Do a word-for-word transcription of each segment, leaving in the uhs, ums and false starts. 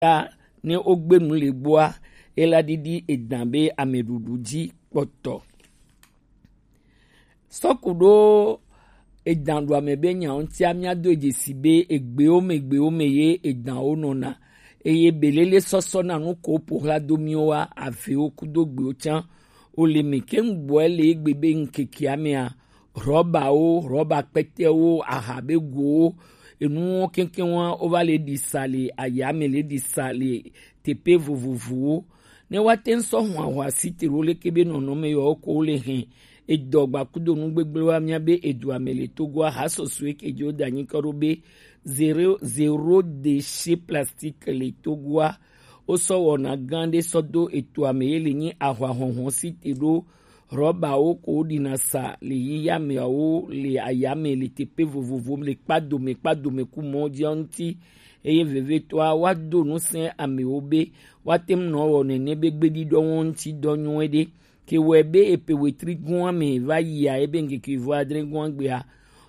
ta ne wogbe nu le gbɔa, ela ɖiɖi edan be ameɖuɖu dzi kpɔtɔ. Sɔku ɖo edan ɖo ame be nya ŋutia, míado dzesi be egbewo me, gbewo me ye edanwo nɔna. Eye belele sɔsɔ na nu ko ƒo xla do míwo wa, avewo kudo gbewo tsã. Wo le me keŋ gbɔe le egbe be ŋkekea mea, rɔbawo, rɔba kpɛtɛwo, aha be gowo, enuwo keŋkeŋ wa, wova le ɖi sa le aya me, le ɖi sa le teƒe vovovowo. Ne woate ŋu sɔ hwanhwa site ɖo leke be nɔnɔme yewo ko wo le hɛn edɔ gbakudo nu gbegblẽ wa mía be edua me le Togoa, ha sɔsɔe ke dzi woda anyi kɔ ɖo be zéro, zéro déchet plastique le Togoa. Wosɔ wɔna gã ɖe sɔ do etoa me ye le nyi ahwa hɔnhɔn site ɖo rɔbawo ko woɖina sa le yiya meawo le ayame le teƒe vovovo le kpadome kpadome ku mɔ dzia ŋuti. Eye vevietɔa, woado ŋusẽ amewo be woate ŋu nɔ wɔ nene be gbeɖiɖɔ ŋuti dɔ nyuie ɖe. Ke wɔe be epe wetri gɔ̃a me va yia ebe ŋkeke vɔ adre gɔ̃a gbea,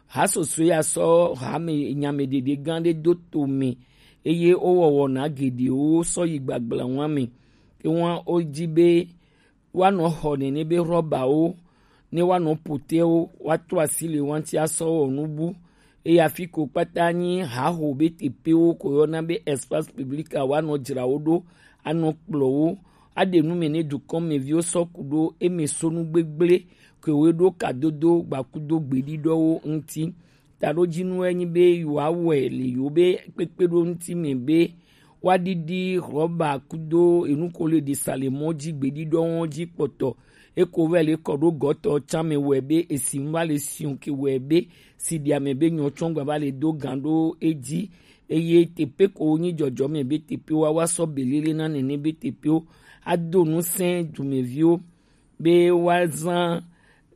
ha sɔsɔe ya sɔ hame nyame ɖeɖe gã ɖe do to me, eye wowɔ wɔna geɖewo sɔ yi gbagbla ŋua me. Ke ŋua wodi be woanɔ xɔ nene be rɔbawo, ne woanɔ potewo, woato asi le wanti asɔ wɔ nubu. Eye afi ko kpata nyi haho be teƒewo ko yɔna be espace public a, woanɔ dzra wo ɖo, anɔ kplɔ wo, aɖe nu me ne dukɔmeviwo sɔ ku ɖo eme so nu gbegblẽ ke wo ɖo kadodo gbakudo gbeɖiɖɔwo ŋuti. Taɖodzinu enyi be yewoawɔe le yewo be kpekpeɖoŋuti me be woaɖiɖi rɔba kudo enu ko le ɖi sa le mɔ dzi gbeɖiɖɔwo dzi kpɔtɔ. Eko vɛ le kɔ ɖo gɔtɔ tsã me wɔe be esi ŋu va le siɔ ke wɔe be si ɖia me be nyɔ tsɔ gba va le do gan ɖo edzi. Eye teƒe ko nyi dzɔdzɔme be teƒewo wa sɔ belele na nene be teƒewo ado ŋusẽ dumeviwo be woazã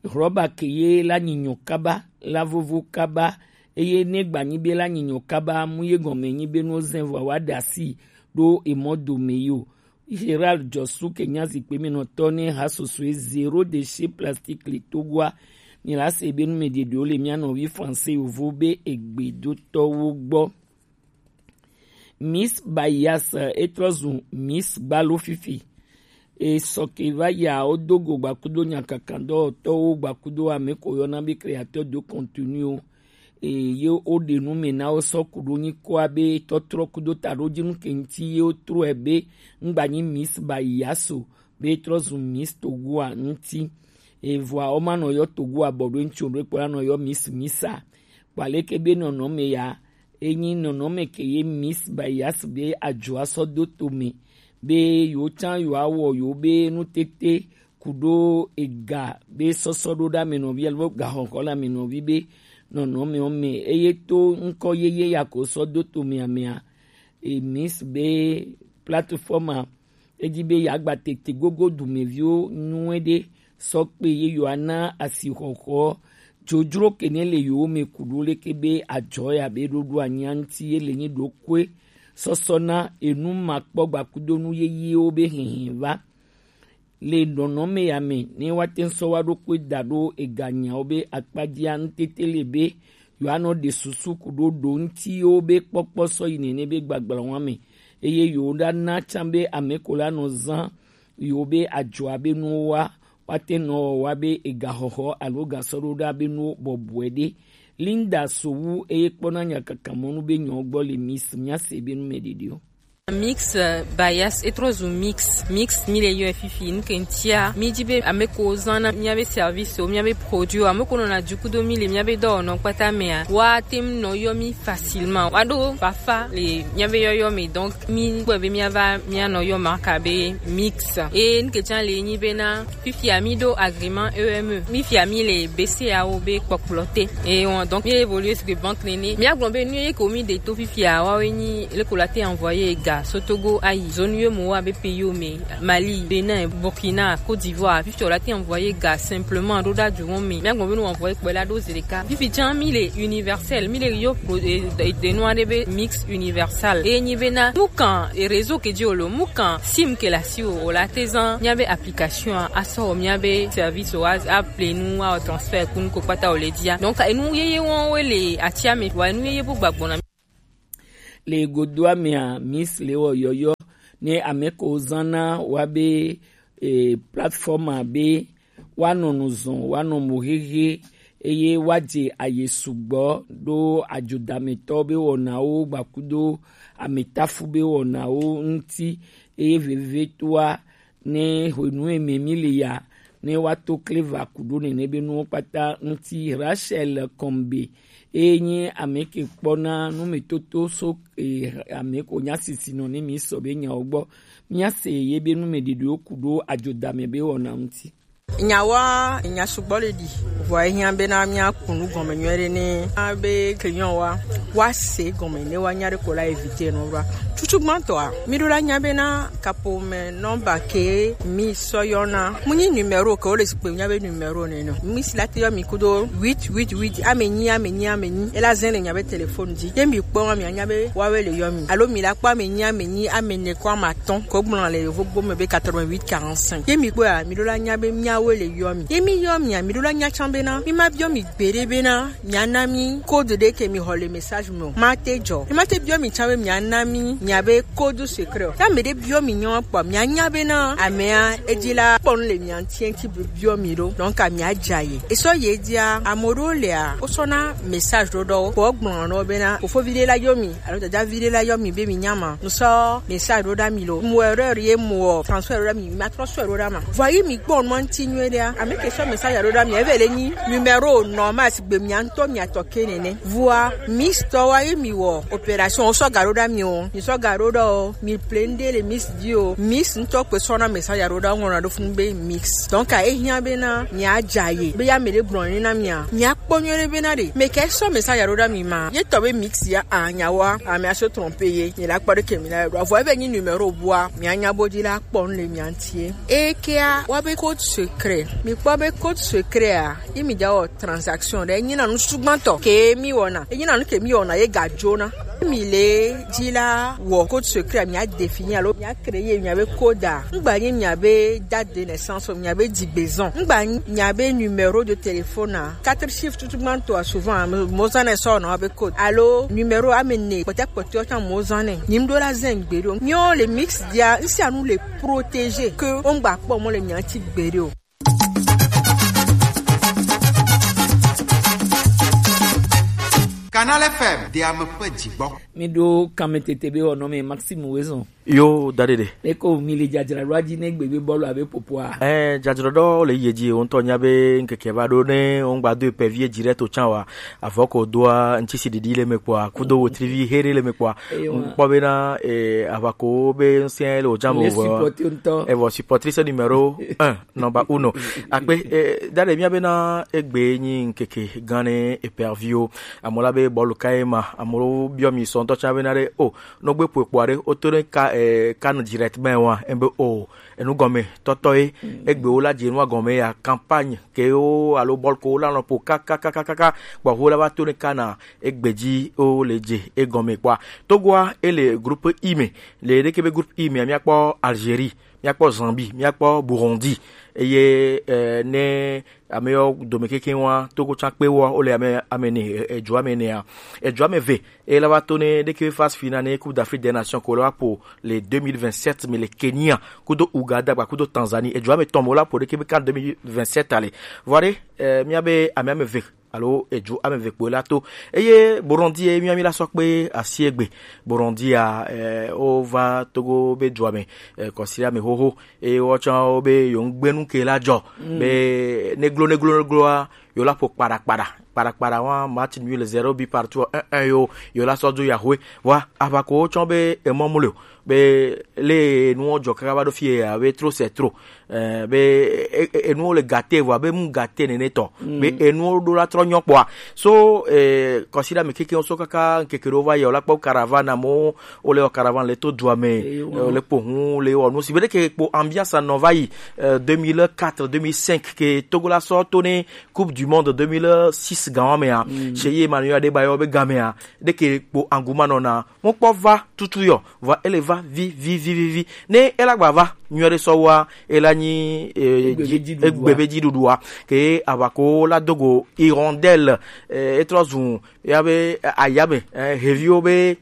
rɔba ke ye la nyinyɔ kaba, la vovo kaba, eye ne gba nyi be la nyinyɔ kaba, mu ye gɔme nyi be no zɛn vɔ wa ɖe asi ɖo emɔ dome yi o. Gérald Jɔsu ke nya zikpe me nɔtɔ ne ha sosoe zéro déchet plastique le Togoa. Mi la se be nu me ɖeɖewo le mia nɔvi français yovo be egbedotɔwo gbɔ. Miss Bayas, eh, etrɔ zu Miss Gbalo fifi. E sɔ ke va ya wo do go gbakudo nyakakandɔtɔwo gbakudo ame ko yɔna be créateur de contenu o. E ye wo ɖe nu me na wo sɔ ku ɖo nyi kɔa be tɔtrɔ kudo taɖodzinu ke ŋuti ye wo trɔe be ŋgba nyi Miss Bayas o, be trɔ zu Miss Togoa ŋuti. Evɔa wo ma nɔ yɔ Togoa bɔ ɖo ŋuti o, ɖo kpɔ la nɔ yɔ Miss Misa. Kpɔ aleke be nɔnɔme ya, enyi nɔnɔme ke ye Miss Bayas be adzo asɔ do to me be yewo tsã yewoawɔ yewo be nutete ku ɖo ega be sɔsɔ ɖo ɖe ame nɔvi alo gaxɔxɔ le ame nɔvi be nɔnɔmewo me, eye to ŋkɔ yeye ya ko sɔ do to mea mea, e Miss be plateforme a, edi be yeagba tete gogo dumeviwo nyuie ɖe sɔ kpe ye yewoana asixɔxɔ dzodzro ke ne le yewo me ku ɖo leke be adzɔ ya be ɖoɖo anyia ŋuti ye le nyi ɖokoe sɔsɔ na enu makpɔ gbakudo nu yeyewo be hihi va. Le nɔnɔme ya me, ne woate ŋu sɔ wa ɖokoe da ɖo eganyawo be akpadzia ŋutete le be yewoanɔ ɖe susu ku ɖo ɖo ŋutiwo be kpɔkpɔ sɔ yi nene be gbagblawɔn me, eye yewoɖana tsã be ame ko la nɔ zã yewo be adzɔa be nuwo wa, woate nɔ wa be egaxɔxɔ alo gasɔɖoɖa be nuwo bɔbɔe ɖe. Linda Sowu eye kpɔna nyakakamɔnu be nyɔ gbɔ le Miss míase be nu me ɖeɖewo. Mix, euh, Bias etrɔ zu mix. Mix mi le yɔ fifi nu ke ŋutia mi di be ame ko zana miabe service o, miabe produit o, ame ko nɔna du kudo mi le miabe dɔwɔnɔ kpata mea, woate ŋu nɔ yɔ mi facilement. Woaɖo fafa le miabe yɔyɔ me, donc mi kpɔe be miava mianɔ yɔ marka be Mix. Eye nu ke tsã le nyi bena fifia mi ɖo agrément E M E. Mi fia mi le B C A wo be kpɔkplɔ te. Eye wɔn, donc mi évoluer sur banque nene. Miagblɔ be nu ye ko mi ɖe to fifia woawoe nyi leke wole ate envoyer ga so Togo ayi zone U E M O A be pays wo me, Mali, Bénin, Burkina, Côte d'Ivoire, fifi wole ate envoyer ga simplement ɖo ɖa du wɔn me. Miagblɔ be nu envoyer kpɔe la ɖo zi ɖeka. Fifi tsã mi le universel, mi le yɔ pro-, e, e, de nua ɖe be Mix universal. E nyi bena nu kan, e, réseau ke dzi wole, mu kan sim ke le asi wo, wole ate zã miabe application a, asɔ wɔ miabe service wo, a, a ple nu, a wɔ transfert ku nu ko kpata wole dzia. Donc enu yeye wɔn wo le atia me, wa enu yeye bu gbagbɔna. Le godoa mea, Miss le wɔ yɔyɔ ne ame ko zana wa be e, platform a be woanɔ nu zɔn, woanɔ mo hehe, eye woadze aye sugbɔ ɖo adzodamɛtɔ be wɔnawo gbakudo amɛtafu be wɔnawo ŋuti, eye vevetoa ne hwenu eme mi le ya, ne woato kleva ku ɖo nene be nuwo kpata ŋuti. Rachel Kombe, eye nyi ame ke kpɔna numetoto so, e, ame ko nya sisi nɔ ne mi sɔ be nyawo gbɔ. Míase ye be numeɖiɖiwo ku ɖo adzodame be wɔna ŋuti. Nyawoa, nya sugbɔ le ɖi. Vɔ ehiã bena míaku nu gɔme nyuie ɖe ne abe client wa, woase gɔme ne woanya ɖe ko la éviter nɔ ɖoa. Tutugbãtɔa, mi ɖo la nya bena kapo me nɔmba ke mi sɔ yɔna. Mu nyi numéro ke wo le zikpe nya be numéro nene. Mi si la te yɔ mi kudo huit huit huit, ame nyi, ame nyi, ame nyi. Ela zɛn le nya be téléphone dzi. Ye mi kpɔ mi anya be wawe le yɔ mi. Alo mi la kpɔ ame nyi, ame nyi, ame ne kɔ ame atɔ̃. Ko gblɔ le yovo gbo me be quatre-vingt-huit quarante-cinq. Ye mi kpɔ ya, mi ɖo la nya be miawe le yɔ mi. Ye mi yɔ mi a, mi ɖo la nya tsã bena mi ma biɔ mi gbeɖe bena miana mi code ɖe ke mi xɔ le message me o. Ma te dzɔ. Mi ma te biɔ mi tsã be miana mi mia be code secret o. Ya me ɖe biɔ mi nyɔ kpɔ, mia nya bena amea edzi la kpɔ nu le mia ŋuti, ŋuti bi-, biɔ mi ɖo. Donc, amea dza ye. Esɔ ye dzia, ame ɖewo lea, wosɔna message ɖo ɖɔ wo. Kpɔ gblɔ nɔ bena, fofovi ɖe la yɔ mi, alo dadavi ɖe la yɔ mi be mi nya ma. Ŋsɔ message ɖo ɖa mi lo. Mo erreur ye mo transfert ɖo ɖa mi, ma transfert ɖo ɖa ma. Vɔ yi mi kpɔ nua ŋuti nyuie ɖea. Ame ke sɔ message ɖo ɖa mi, eve le nyi numéro normal sigbe mia ŋutɔ mia tɔ ke nene. Vɔa, Miss tɔ wa ye mi wɔ opération, o sɔ ga ɖo ɖa mi o. Mi sɔ ga ɖo ɖa o. Mi plein de le Miss dzi o. Miss ŋutɔ kpe sɔna message ɖo ɖa ŋlɔna ɖo funu be Mix. Donc, a ehiã bena mia dza ye. Be ya me ɖe gblɔ ne na mia. Mia kpɔ nyuie ɖe bena ɖe. Me ke sɔ message ɖo ɖa mi ma. Ye tɔ be Mix ya a nya wa. Ame a se tromper ye. Ye la kpɔ ɖe ke mi la ɖo. Vɔ ebe nyi numéro bua. Mia nya bo dzi la kpɔ nu le mia ŋuti ye. Ekea, wa be code secret. Mi kpɔ be code secret a. Ye mi dza wɔ transaction ɖe, enyi na nu sugbãtɔ ke mi wɔna. Enyi na nu ke mi wɔna ye ga dzona. Mi le dzi la wɔ code secret, mia définir alo mia créer mia be code a. Ŋgba nyi mia be date de naissance o, mia be dzigbezɔn. Ŋgba nyi mia be numéro de téléphone a. Quatre chiffres tutugbãtɔ a souvent mo zana sɔ na be code. Alo numéro ame ne kpɔtɛ kpɔtɛ o tsã mo zana. Nyim ɖo la zɛn gbeɖe o. Miɔ le Mix dia, ŋsia nu le protéger ke o ŋgba kpɔ mo le mia ŋuti gbeɖe o. Canal F M, de ame ƒe dzigbɔ. Mi ɖo kame tete be wɔnɔ me Maxime Wezon. Yo, da ɖe ɖe. Eko mi le dzadzra ɖo adzi ne gbe be bɔlu abe popoa. Eh, dzadzra ɖo le ye dzi, o ŋutɔ nya be ŋkeke va ɖo ne o ŋgba do epe vie dzi ɖe to tsã wa. Avɔ ko doa, ŋtsi si ɖiɖi le me kpɔa, kudo wotrivi he ɖe le me kpɔa. Eyo, ŋkpɔ bena, eh, avako be ŋsɛ le o dzam o vɔ. Supporter ŋutɔ. Evɔ supporter se numéro un. Nɔmba uno. Akpe, eh, da ɖe mía bena egbe nyi ŋkeke gã ne eperviwo. Amewo la be bɔlu kae ma, amewo biɔ mi sɔ ŋutɔ tsã bena ɖe, o, nɔgbe ƒo ekpoa ɖe, woto ɖe ka, eh, kan direct me wa, ebe o, enu gɔme tɔtɔ ye, egbe wo la dze nua gɔme ya, campagne ke wo, alo bɔlu ko wo la nɔ ƒo kakakakaka, kpɔ wo la va to ne kana, egbe dzi wo le dze egɔme kpɔa. Togoa, ele groupe I me, le ɖeke be groupe I me, mía kpɔ Algérie, míakpɔ Zambie, míakpɔ Burundi, eye, eh, ne ame yawo dome kekeŋ wa, Togo tsã kpe wa, wole ame, ame ene, eh, edzo ame enea. Edzo ame eve, eye la va to ne ɖeke phase finale ne Coupe d'Afrique des Nations ko la va ƒo le deux mille vingt-sept me le Kenya, kudo Ouganda, kpa kudo Tanzanie, edzo ame etɔ̃ me wo la ƒo ɖeke be kan deux mille vingt-sept ale. Vɔ ɖe, eh, míabe ame ame eve alo edzo ame eve kpoe la to. Eye Burundi ye mía mi la sɔ kpe asi egbe. Burundi ya, eh, wo va Togo be dua me, eh, kɔsi ame xoxo. Eye wo tsã wo be yo ŋgbe nu ke la dzɔ. Mm. Be neglo, neglo, negloa, yo la ƒo kpaɖa, kpaɖa. Kpaɖa, kpaɖa wa match nul zéro but partout, un un yo, yo la sɔ do ya hoe. Wa, ava ko wo tsã be emɔ mu le o. Be le nuwo dzɔ kaka va ɖo fie ya, be trop c'est trop. Eh, be, e, e, enuwo le gate vɔa, be mu gate nene tɔ. Mm. Be enuwo ɖo la trɔ nyɔ kpɔa. So, eh, kɔsiɖa me kekeŋ so kaka ŋkeke ɖewo va yi, o la kpɔ caravane amewo, wo le wɔ caravane le to dua me, eh, wo le kpo hu, le wɔ nu si. Be ɖeke kpo ambiance nɔ va yi, eh, deux mille quatre, deux mille cinq, ke Togo la sɔ to ne Coupe du Monde deux mille six gan wa mea, mm, chez ye Emmanuel Adebayor be gan mea, ɖeke kpo engouement nɔna, mo kpɔ va tutu yɔ, vɔa ele va vi, vi, vi, vi, vi. Ne ela gba va, nyuie ɖe sɔ wa, ela nyi, eh, egbe be dzi-, dziɖuɖua. Egbe be dziɖuɖua. Ke avako la dogo hirondelle, eh, etrɔ zu, ya be, eh, ayame, eh, heviwo be,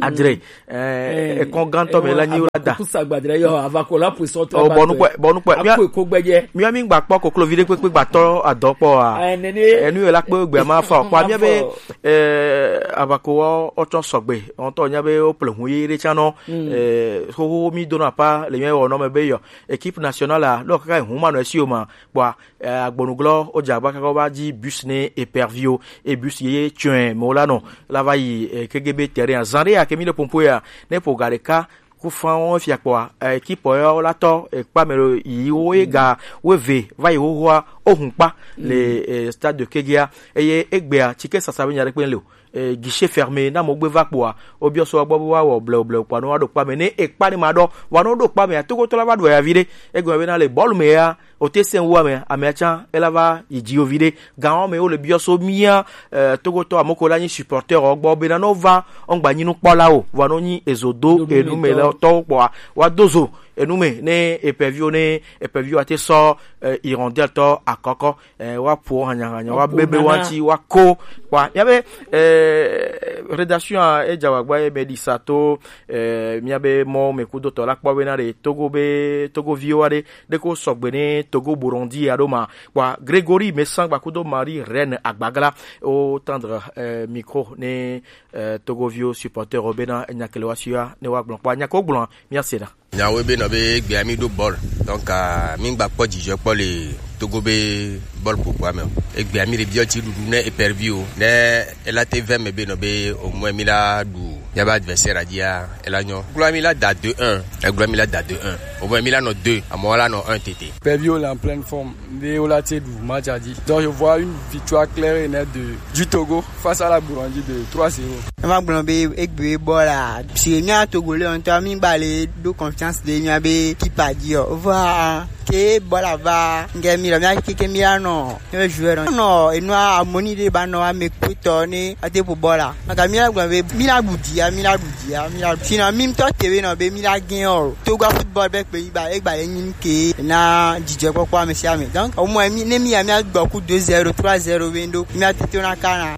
Adre, eh, ekɔn gãtɔ me la nyi wo la da. Kusa gbadre yo, avako la puissant. Oh, bɔnu kpɔe, bɔnu kpɔe. Mia, akɔ eko gbɛdze. Mia mi gba kpɔ koklo vi ɖe kpekpe gba tɔ adɔ kpɔ a. Eh, nene. Enu yo la kpe gbe ma fa o. Kpɔ mia be, eh, avako wo, wotsɔ sɔgbe. Ŋutɔ nya be wo ple hu ye ɖe tsa nɔ. Eh, xoxo mi do na pa le mia wɔ nɔ me be yɔ. Équipe nationale a, lɔ kaka hu ma nɔ esi o ma. Kpɔa, eh, agbonuglɔ, wodze agba kaka wova dzi bus ne éperviwo, e bus ye tsɔe me wola nɔ, la va yi, eh, K G B terrain. Azã ɖe ya ke mi le pompo ya, ne ƒo ga ɖeka ku fã wo fia kpɔa, eh, équipe ya wola tɔ, eh, kpa me ɖo yi wo ye ga wo eve va yi xoxoa, wo hun kpa le, eh, stade de Kegea, eye egbea, tike sasa be nya ɖe kpe le o. Eh, guichet fermé, na mo gbe va kpɔa, wobiɔ so gbɔ be woawɔ blewu blewu kpɔa, ne woaɖo kpa me, ne ekpa ne ma ɖɔ, vɔa ne woɖo kpa mea, Togotɔ la va ɖu ya vi ɖe, egɔme bena le bɔlu me ya, wote sɛn wu ame, amea tsã, ela va yi dzi yo vi ɖe, gan wo me wole biɔ so mía, eh, Togotɔ amoko la nyi supporter wo gbɔ, bena ne wova, wogba nyi nukpɔla o, vɔa ne wonyi ezo do enu me le tɔwo kpɔa, woado zo enu me, ne éperviwo, ne éperviwo ate sɔ, eh, hirondelle tɔ akɔkɔ, eh, woaƒo hanyahanya, woabebe woati, woako. Kpɔa, míabe, eh, rédaction a, edze agbagba ye me ɖi sa to, eh, míabe mɔ me kudotɔ la kpɔ bena ɖe Togo be, Togoviwo aɖe, ɖeko sɔgbe ne Togo Burundi aɖo ma. Kpɔa, Grégory Messangba kudo Marie Reine Agbagla, wo tendre, eh, micro ne, eh, Togoviwo supporter wo bena enya kele wa suia ne wa gblɔ. Kpɔa, nya ko gblɔ, mía se na. Nyawo be nɔ be egbea mi ɖo bɔl. Donc, ah, mi gba kpɔ dzidzɔ kpɔ le Togo be bɔl ƒoƒoa me o. Egbea mi ɖe biɔ ti ɖuɖu ne éperviwo. Ne ela te vɛ me be nɔ be au moins mi la ɖu míabe adversaire a dzia, ela nyɔ. Gblɔ mi la da deux un. Egblɔ mi la da deux un. Au moins mi la nɔ deux. Amewo la nɔ un tete. Éperviwo le en pleine forme. Be wola te ɖu match a dzi. Donc je vois une victoire claire et nette de, du Togo face à la Burundi de trois zéro. Ema gblɔ be egbe bɔla si mía Togo le ŋutɔ mi ba le ɖo confiance de mía be équipe a dzi o. Vɔa ke bɔla va nge mi lɔ mía keke mi anɔ ne joueur nɔ enua amoni de ba nɔ ame kutɔ ne ate ƒo bɔla. Maka mi la gblɔ be mi la ɖu dia, mi la ɖu dia, mi la ɖu. Sinon mi ŋutɔ te be nɔ be mi la gagner o. Togo football be kpe yi ba egba le nyi ke na dzidzɔkpɔkpɔ ame sia ame. Donc, au moins, mi, ne mi ya mía gbɔ ku deux zéro, trois zéro be ŋɖo, mía tete na kana.